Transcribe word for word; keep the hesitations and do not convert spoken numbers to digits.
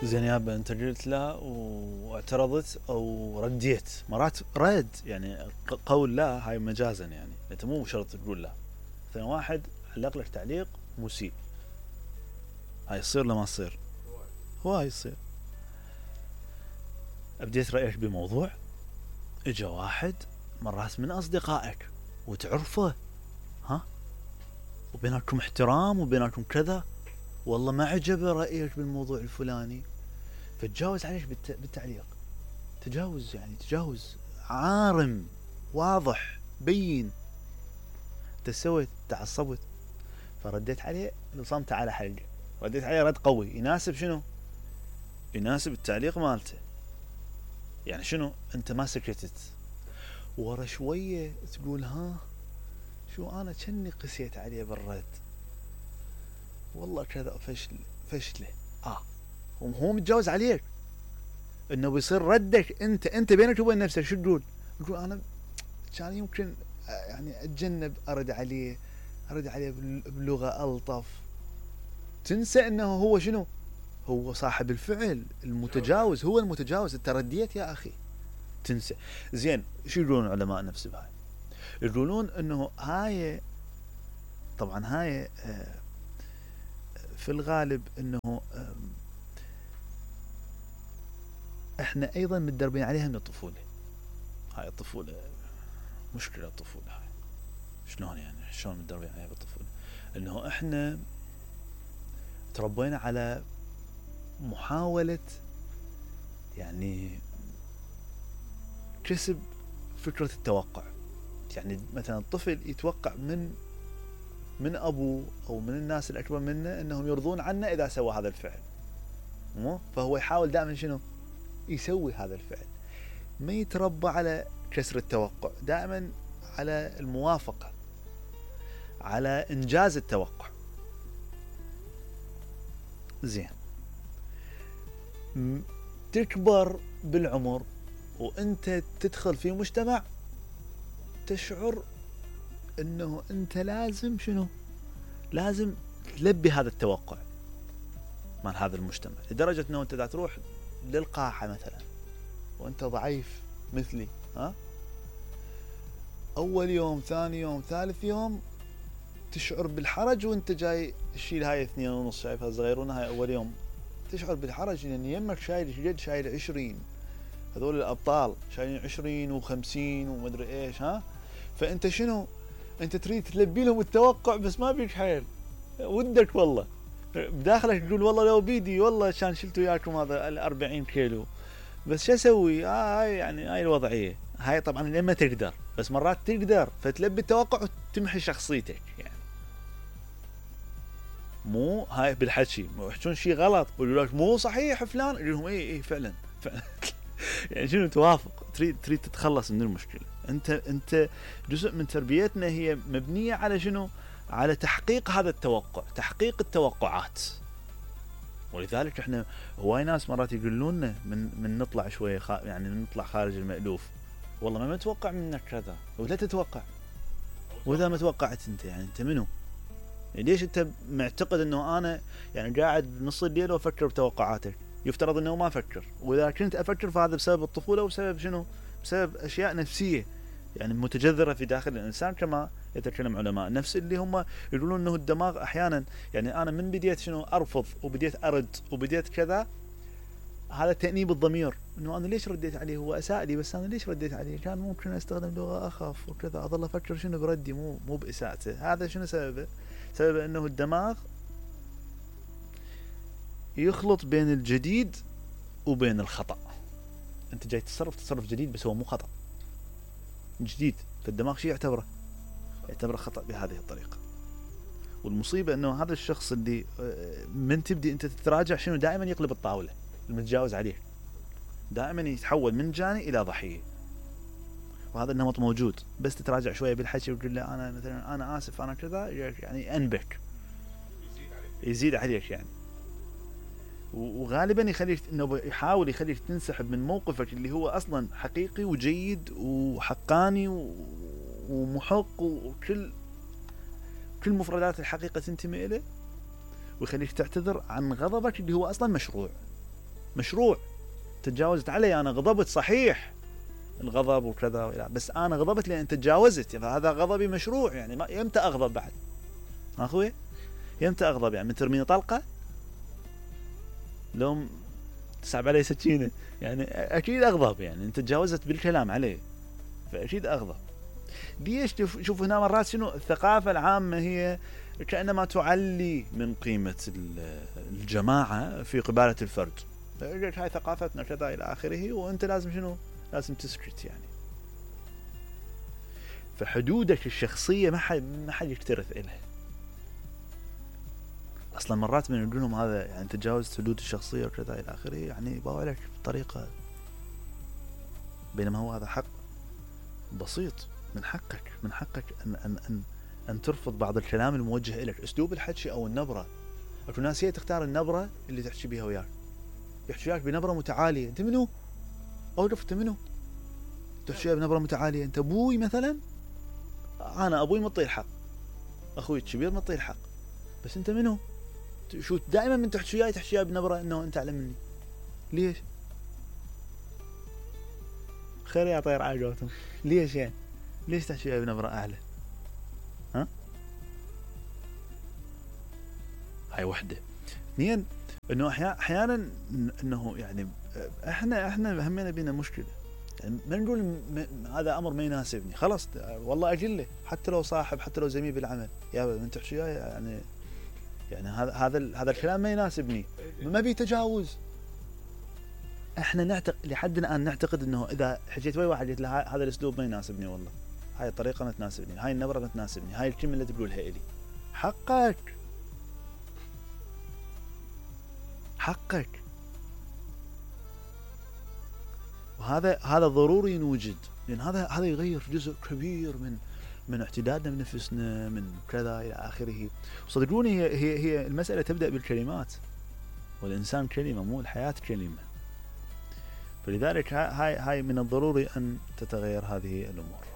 زين يابا انت قلت لا واعترضت او رديت مرات رد يعني قول لا هاي مجازا يعني انت مو شرط تقول لا. مثلا واحد علق لك تعليق مسيء هاي يصير ولا ما تصير؟ هواي يصير. ابديت رايك بموضوع اجا واحد مرات من اصدقائك وتعرفه ها وبينكم احترام وبينكم كذا والله ما عجبه رايك بالموضوع الفلاني فتجاوز عليك بالتعليق تجاوز يعني تجاوز عارم واضح بين انت سويت تعصبت فرديت عليه نصمت على حلقه رديت عليه رد قوي يناسب شنو يناسب التعليق مالته يعني شنو انت ما سكتت ورا شويه تقول ها شو انا كني قسيت عليه بالرد والله كذا فشل فشله اه وهو متجاوز عليك انه بيصير ردك انت انت بينك وبين نفسك شو تقول؟ تقول انا كان يمكن يعني اتجنب ارد عليه ارد عليه بلغه الطف تنسى انه هو شنو هو صاحب الفعل المتجاوز هو المتجاوز انت رديت يا اخي تنسى. زين شو يقولون علماء النفس بهاي؟ يقولون انه هاي طبعا هاي في الغالب انه احنا ايضا متدربين عليها من الطفوله. هاي الطفوله مشكله الطفوله هاي شلون يعني شلون متدربين عليها بالطفوله؟ انه احنا تربينا على محاوله يعني كسب فكره التوقع. يعني مثلا الطفل يتوقع من من ابوه او من الناس الاكبر منه انهم يرضون عنه اذا سوى هذا الفعل مو فهو يحاول دائما شنو يسوي هذا الفعل ما يتربى على كسر التوقع دائما على الموافقه على انجاز التوقع. زين تكبر بالعمر وانت تدخل في مجتمع تشعر انه انت لازم شنو لازم تلبي هذا التوقع مال هذا المجتمع لدرجة انه انت دا تروح للقاحة مثلا وانت ضعيف مثلي ها اول يوم ثاني يوم ثالث يوم تشعر بالحرج وانت جاي تشيل هاي اثنين ونص شايفها صغيرون هاي اول يوم تشعر بالحرج لان يمك شايل جد شايل عشرين هذول الابطال شايلين عشرين وخمسين ومدري ايش ها فانت شنو انت تريد تلبي لهم التوقع بس ما بيك حيل ودك والله بداخلك تقول والله لو بيدي والله كان شلت وياكم هذا الأربعين كيلو بس شو اسوي آه هاي يعني هاي الوضعيه هاي طبعا لما تقدر بس مرات تقدر فتلبي التوقع وتمحي شخصيتك يعني مو هاي بالحكي يحكون شيء غلط يقولوا لك مو صحيح فلان يقول لهم اي اي فعلا فعلا يعني شنو توافق تريد تريد تتخلص من المشكله انت انت جزء من تربيتنا هي مبنيه على شنو على تحقيق هذا التوقع تحقيق التوقعات ولذلك احنا هواي ناس مرات يقولون لنا من من نطلع شويه خ... يعني نطلع خارج المألوف والله ما متوقع منك كذا ولا تتوقع واذا ما توقعت انت يعني انت منو يعني ليش انت معتقد انه انا يعني قاعد بنص الليل وافكر بتوقعاتك يفترض انه ما افكر واذا كنت افكر فهذا بسبب الطفوله وبسبب شنو بسبب اشياء نفسيه يعني متجذره في داخل الانسان كما يتكلم علماء النفس اللي هم يقولون انه الدماغ احيانا يعني انا من بديت شنو ارفض وبديت ارد وبديت كذا هذا تأنيب الضمير انه انا ليش رديت عليه هو اساء لي بس انا ليش رديت عليه كان ممكن استخدم لغه اخف وكذا اظل افكر شنو بردي مو مو باساءته هذا شنو سببه سبب انه الدماغ يخلط بين الجديد وبين الخطأ انت جاي تصرف تصرف جديد بس هو مو خطأ جديد فالدماغ شيء يعتبره يعتبره خطأ بهذه الطريقة والمصيبة انه هذا الشخص اللي من تبدي انت تتراجع شنو دائما يقلب الطاولة المتجاوز عليه دائما يتحول من جاني الى ضحية وهذا النمط موجود بس تتراجع شوية بالحكي وتقول له انا مثلا انا اسف انا كذا يعني انبك يزيد عليك يعني وغالبا يخليك انه يحاول يخليك تنسحب من موقفك اللي هو اصلا حقيقي وجيد وحقاني ومحق وكل كل مفردات الحقيقه تنتمي اليه ويخليك تعتذر عن غضبك اللي هو اصلا مشروع مشروع. تجاوزت علي، انا غضبت صحيح، الغضب وكذا، بس انا غضبت لان انت تجاوزت، يعني هذا غضبي مشروع. يعني ما يمتى اغضب بعد اخوي؟ يمتى اغضب؟ يعني من ترميني طلقه؟ لو تسحب علي سكينه يعني اكيد اغضب. يعني انت تجاوزت بالكلام عليه فاكيد اغضب. ليش؟ شوف هنا مرات شنو الثقافه العامه هي كانما تعلي من قيمه الجماعه في قباله الفرد. هاي ثقافتنا كذا الى اخره، وانت لازم شنو؟ لازم تسكت يعني. فحدودك الشخصيه ما حد ما حد يكترث إلها. اصلا مرات من نقول لهم هذا يعني تجاوزت حدود الشخصيه وكذا الى اخره، يعني يبغوا لك بطريقه، بينما هو هذا حق بسيط. من حقك من حقك ان ان ان, أن ترفض بعض الكلام الموجه لك، اسلوب الحكي او النبره. اكو ناس هي تختار النبره اللي تحكي بها وياك، يحكي وياك بنبره متعاليه. انت منو؟ اوقف، انت منو؟ تحكي بنبره متعاليه؟ انت ابوي مثلا؟ انا ابوي مطي الحق، اخوي الكبير مطي الحق، بس انت منو؟ شو دائما من تحكي وياي تحكي وياي بنبره انه انت اعلى مني؟ ليش؟ خير يا طير عاقوتهم، ليش يعني؟ ليش تحكي وياي بنبره اعلى؟ ها؟ هاي وحده. اثنين، انه احيانا انه يعني احنا احنا همنا بينا مشكله، يعني ما نقول م... هذا امر ما يناسبني، خلاص والله اجله، حتى لو صاحب، حتى لو زميل بالعمل، يا من تحكي وياي يعني يعني هذا هذا هذا الكلام ما يناسبني، ما بي تجاوز. احنا نعتقد لحد الان نعتقد انه اذا حكيت ويا واحد قلت له هذا الاسلوب ما يناسبني، والله هاي الطريقه ما تناسبني، هاي النبره ما تناسبني، هاي الكلمه اللي تقولها الي، حقك حقك. وهذا هذا ضروري نوجد، لان هذا هذا يغير جزء كبير من من اعتدادنا بنفسنا، من كذا الى اخره. صدقوني هي هي هي المساله تبدا بالكلمات، والانسان كلمه، مو الحياه كلمه. فلذلك هاي هاي من الضروري ان تتغير هذه الامور.